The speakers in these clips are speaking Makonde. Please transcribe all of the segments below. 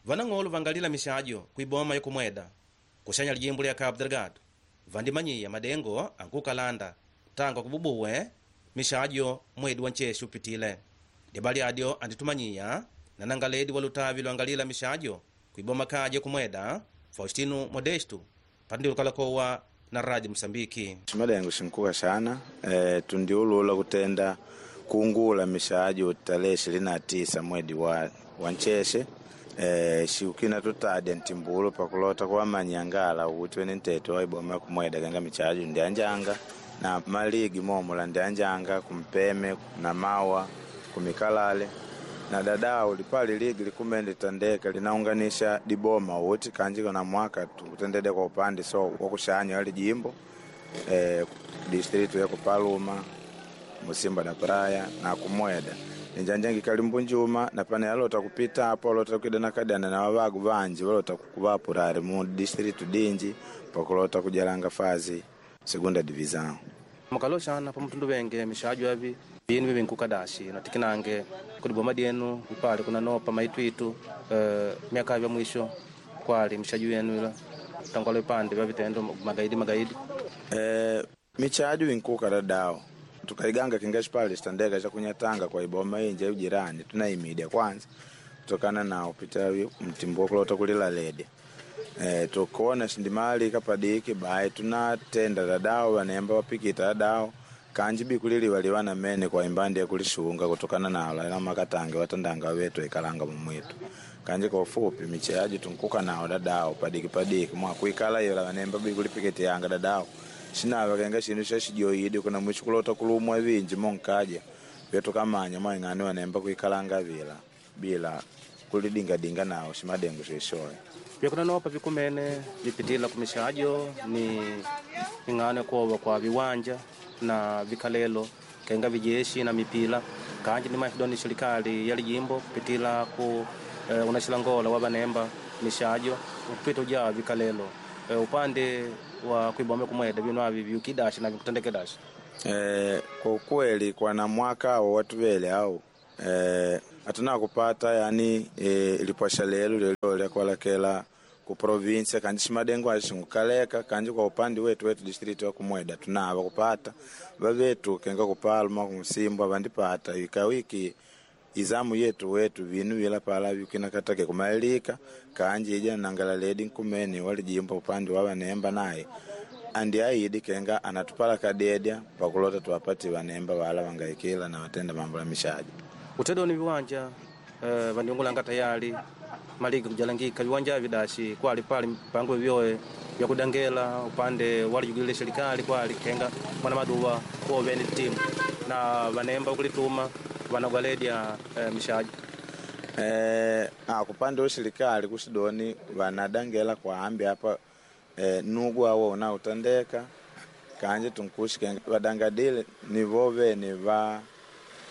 Vanang'olo vangalila mishajo kuiboma yakumweda kushanya lijimbo lya Cabo Delgado vandimanyiya madengo ankukalanda tangu akububuwe mishajo mwedi wa ncheshi upitile. Dibali adyo anditumanyiya na nangaledi wa lutavi lwangalila mishajo kuiboma kaja kumweda Faustino Modesto patindi lukalakowa na Radio Msambiki. Madengo shinkuka sana tundiulula kutenda kungula mishajo tarehe 29 mwedi wa ncheshe shiukina tutadya ntimbulo pakulota kuwamanyangala ukuthi wene ntete waiboma kumweda kenga michajo ndianjanga na maligi momola ndianjanga kumpeme na mawa kumikalale na dadao lipali ligi likumene litandeka linaunganisha diboma uti kanjiko na mwaka tukutendede kwa upande so wakushanya wali jimbo distritu ya kupaluma Musimba da Praia na kumweda ninjanjangi kalimbu njuma na pane alota kupita apo alota kukidana kadana na wabagu banji walota kukubapurari mu distritu dinji pakulota kujalanga fazi segunda divisão mukaloshana pamutundu wenge mishajo avi binu bibinkukadashi natikinange kudiboma dyenu ipali kunanopa maitwitu miaka vya mwisho kwali mishajo yenu ila tangwalo ipande vya vitendo magaidi magaidi michajo inkuka dadao tukaiganga kingashi pale chitandeka chakunyatanga kwa iboma inje ujirani tunaimidia kwanza kutokana na upita mtimbo kulota kulila lede tukuona shindimali kapadiki bae tunatenda dadao wanemba wapikita dadao kanji bikuliliwa liwana mene kwa imbandi yakulishunga kutokana na ala makatange watandanga wetu ikalanga mumwitu kanji kwa ufupi micheaji tunkuka nao dadao padiki padiki mwakuikala ila wanemba bikulipikiti yanga dadao shinava kenga shindu shashijoidi kuna mwisho kulota kulumwa vinji monkaja vyetu kamanya mwaing'ani wanemba kuikalanga vila bila kulidingadinga nao shimadengo shishoya vyakunanopa vikumene vipitila kumishajo ni ing'ano kuova kwa viwanja na vikalelo kenga vijeshi na mipila kanji ni maidoni serikali ya lijimbo kupitila ku unaxilangola wa vanemba mishajo kupita uja vikalelo upande wa kuibome kumweda vinu avi viukidashi na vikutendekedashi kwa ukweli kwana mwaka awo watu vele au atuna kupata yani lipwasha lelu lelo lyakualakela ku provinsia kanji shimadengo axingukaleka kanji kwa upande wetu wetu district wa kumweda tunava kupata vavetu kenga kupalma kumsimbwa vandipata ikawiki izamu yetu wetu vinu vila pala vikinakatake kumalika kanji ija nangala ledi nkumene walijimba upande wa vanemba naye andi aidi kenga anatupala kadedya pakulota tuwapati vanemba wala wangaikila na watenda mambo ya mishaji utedo ni viwanja vandiungulanga tayari maligi kujalangika viwanja vidashi kwali pali mpango vyoe vya kudangela upande walijugilile serikali kwali kenga mwana maduwa kuoveni timu na vanemba kulituma vanagwaledya mishaji kupande wa serikali kusidoni vanadangela kwaambi apa nugu awo unautandeka kanje tunkushi vadangadile ni vovene va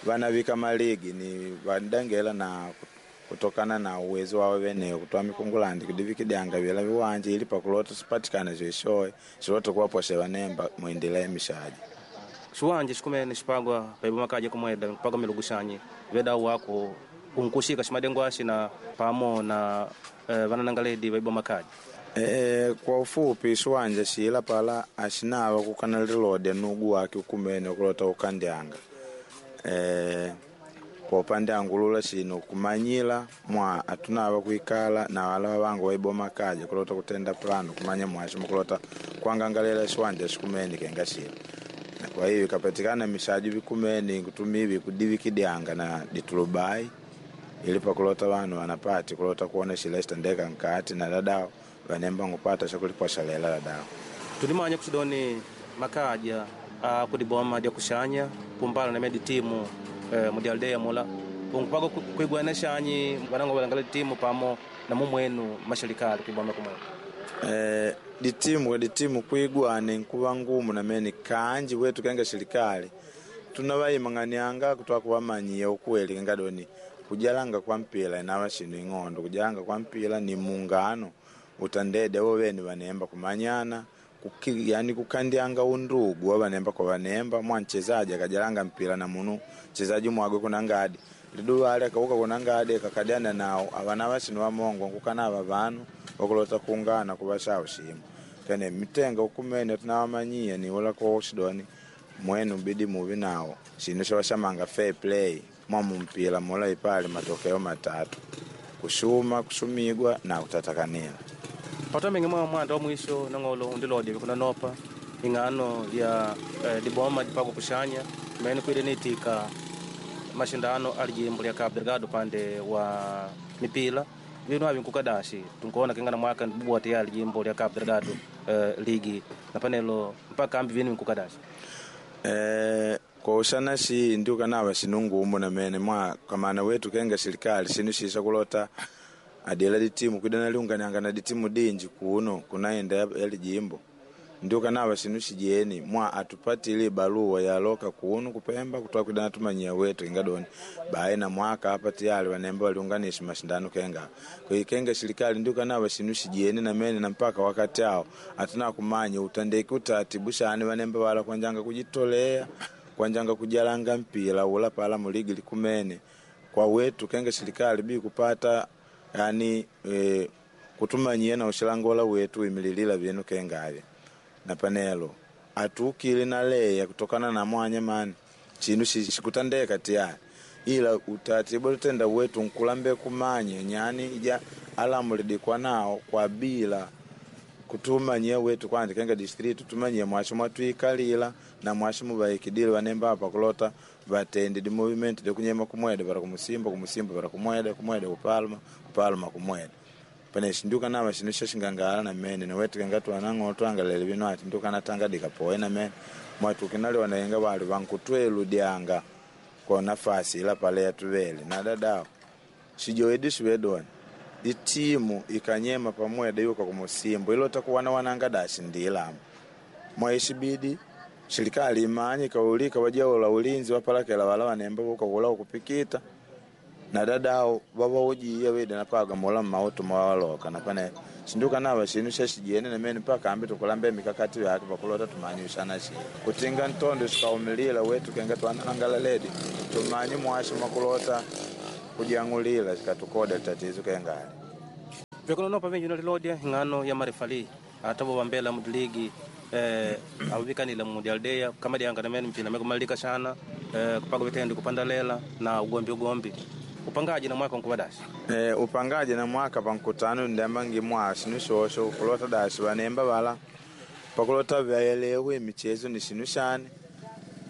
vanavika maligi ni vandangela na kutokana na uwezo wawo veneyo kutoa mikungulandi kudivikidyanga vila viwanja ili pakulota sipatikana zishoe silota kuwaposha vanemba muendelea mishaji xiwanja xikumene xipagwa paiboma kaja kumweda kupagwa milugushanyi vedau wako kunkushika ximadengo axi na pamo na vananangaledi vaiboma kaja kwa ufupi xiwanja xila pala axinava kukana lilodya nugu wake ukumene kulota ukandyanga kwa upande angulula xino kumanyila mwa atunava kuikala na wala wavangu waiboma kaja kulota kutenda plano kumanya mwaxi mukulota kuangangalela xiwanja xikumene kenga xila na kwa hiyo ikapatikana mishaji vikumene kutumivi kudivikidyanga na ditulubai ili pakulota vanu vanapati kulota kuona xila xitandeka nkati na dadao vanemba ngupata xakuliposha lela dadao tulimanya kuxidoni makaja akudiboma dya kuxanya kumbala na medi timu mudialdeya mula unkupaga kuigwana xanyi vanango valangala timu pamo na mumwenu mashalikali kuiboma kumwenu ditimu kwa ditimu kuigwane nkuva ngumu namene kanji wetu kenga serikali tunavaimang'anianga kutoa kuvamanyiya ukweli kenga doni kujalanga kwa mpila inava xinu ing'ondo kujalanga kwa mpila ni mungano utandede wo vene vanemba kumanyana yani kukandyanga undugu wa vanemba kwa vanemba mwa mchezaji akajalanga mpila na munu mchezaji mwagwe kuna ngadi Liduva akauka kunangade kakadiana nao avana vasinu vamongo nkukana vanu vakulota kuungana kuvashawo shimo kene mitenga ukumene tunawamanyia ni ula kwa ushidoni mwenu bidi muvi nao shinu shawashamanga fair play mwa mumpila mula ipali matokeo matatu kushuma kushumigwa na kutatakanila. Patomingi mwa mwanda wa mwisho nang'olo undilodya vikunanopa ing'ano ya diboma dipagwa kushanya mene kwile niitika mashindano alijimbo lya Cabo Delgado pande wa mipila vinu avi nkukadashi tunkuona kengana mwaka ndibubwa tayari jimbo lya Cabo Delgado ligi na panelo mpaka ambi vinu nkukadashi. Kwa ushana shi ndiukanava shinungumu namene mwa kamana wetu kenga serikali shinu shisha kulota adila ditimu kwidana liunganianga na ditimu dinji kuno kunaenda yali jimbo ndiukanava shinu shijeni mwa atupatile barua yaloka kuno kupemba kutoa kwidana tumanyia wetu ingadoni bae na mwaka hapa tayari wanemba waliunganisha mashindano kenga kwa kenga serikali ndiukanava shinu shijeni na mene na mpaka wakati hao atuna kumanya utandeki utaratibu shani wanemba wala kwanjanga kujitolea kwanjanga kujalanga mpila ula pala muligi likumene kwa wetu kenga serikali bi kupata yani kutumanyia na ushilangola wetu imililila vyenu kengavya na panelo atukile na leya kutokana na mwanya mani chinu shikutandeka tiyari ila utaratibu tutenda wetu nkulambe kumanya nyani ija alamulidikwa nao kwa bila kutumanyia wetu kwanja kenga district tumanyia mwasho mwatwikalila na mwasho mubaikidile vanemba apa kulota vatendi di movement de kunyema kumweda para kumusimba kumusimba para kumweda kumweda kupalma kupalma kumweda pane shinduka nava shinu shashingangala na mene na wetu kenga twanang'o twangalele vino ati nduka natanga dikapoe na mene mwatukinali wanayenga wali vankutweludyanga kwa nafasi ila pale yatuvele na dadao shijoedi shivedoni itimu ikanyema pamweda yuka kumusimbo ilota kuwana wananga dashi ndilamu mwaishibidi serikali imanye kaulika wajaula ulinzi wapalakela wala wanemba buka kula kupikita na dadao wawaujiya wida napaga mula mmautu mwawaloka napane sinduka nava shinu shashijene namene mpaka ambi tukulambe mikakati yake pakulota tumanye ushana shi kutinga ntondo shikaumilila wetu kenga twanangala ledi tumanye mwasho makulota kujang'ulila shikatukoda tatizo kengali vikunonopa vinji nalilodya ing'ano ya marefali atavo vambela mudiligi avikanile mudialdeya kama dyanga namene mpila mekumalika shana kupaga vitendo kupandalela na ugombi ugombi upangaji na mwaka nkuvadashi. Upangaji na mwaka pankutano ndambangi mwa shinu shosho kulota dashi vanemba vala pakulota vyaelewe michezo ni shinu shane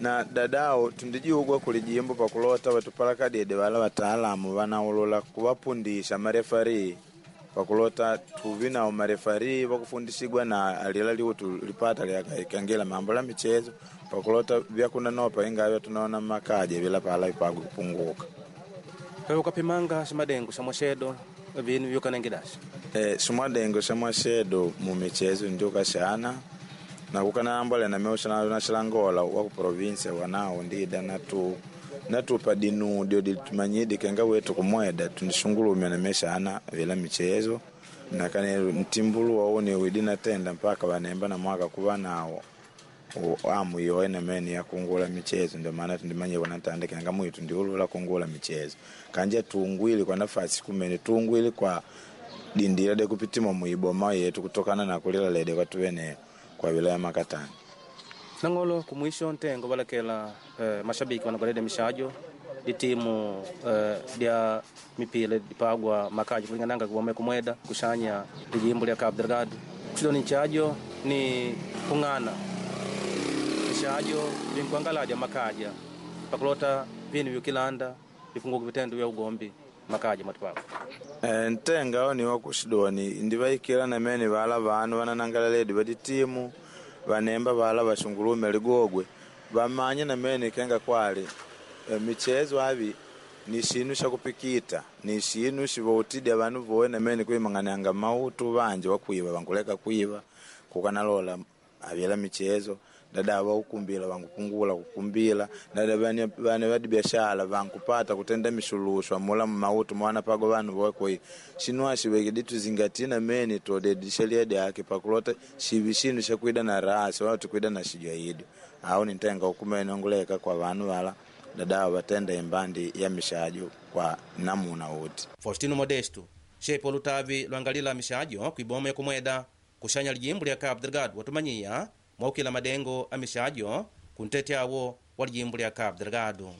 na dadao tundijiugwa kulijimbo pakulota vatupalakadede vala wataalamu vanaulula kuvapundisha marefari pakulota tuvi nao marefari vakufundishigwa na alila liutu lipata lyakaikangila mambo la michezo pakulota vyakunanopa ingavya tunaona makaje vila pala ipagu kupunguka. Wewe ukapimanga shimadengo sha mwashedo vinu vyukanengedasha. Shimwadengo sha mwashedo mu michezo ndio kashana na kukanambole na meusha na shilangola wa ku province wanao ndida natu natupa dinu dio ditumanyidi kenga wetu kumweda tunishungulumya na meshana vila michezo na kane mtimbulu waone widina tenda mpaka wanemba na mwaka kuva nawo amu yoene meni ya kungula michezo ndio maana tundimanye wanatanda kenga mwitu ndiulula kungula michezo kanja tungwili kwa nafasi kumene tungwili kwa dindira de kupitima muiboma yetu kutokana na kulila lede kwa tuwene kwa wilaya Makatani. Nang'olo kumwisho ntengo balakela mashabiki wanagolede mishajo ditimu dya mipila dipagwa makaji kulingananga kuwame kumweda kushanya lijimbo lya Cabo Delgado kuchidoni nchajo ni kung'ana mishajo vinkuangalaja makaja pakulota vinu vyukilanda vipunguka vitendo vya ugombi makaja mwatipako. Ntenga ao ni wakushidoni ndivaikila namene vala vanu vananangala ledi vaditimu vanemba vala vashungulume ligogwe vamanye namene kenga kwali michezo avi ni shinu shakupikita ni shinu shivoutidya vanu vowe namene kuimang'anianga mautu vanje wakwiva vankuleka kwiva kukanalola avila michezo dada vaukumbila vankupungula kukumbila dada vane vadi biashara vankupata kutenda mishulushwa mula mautu mwana pago vanu vowe shinu ashivekidi tuzingatie namene todedi sheria yake pakulota shivi shinu shakwida na rasi wala tukwida na shijwaidi au nintenga ukumene onguleka kwa vanu vala dada vatenda imbandi ya mishajo Kwa namuna uti. Faustino Modesto, shepo lutavi lwangalila mishajo kwiboma ya kumweda kuxanya lijimbo lya Cabo Delgado watumanyiya mwaukila madengo a mishajo kuntete awo wa lijimbo lya Cabo Delgado.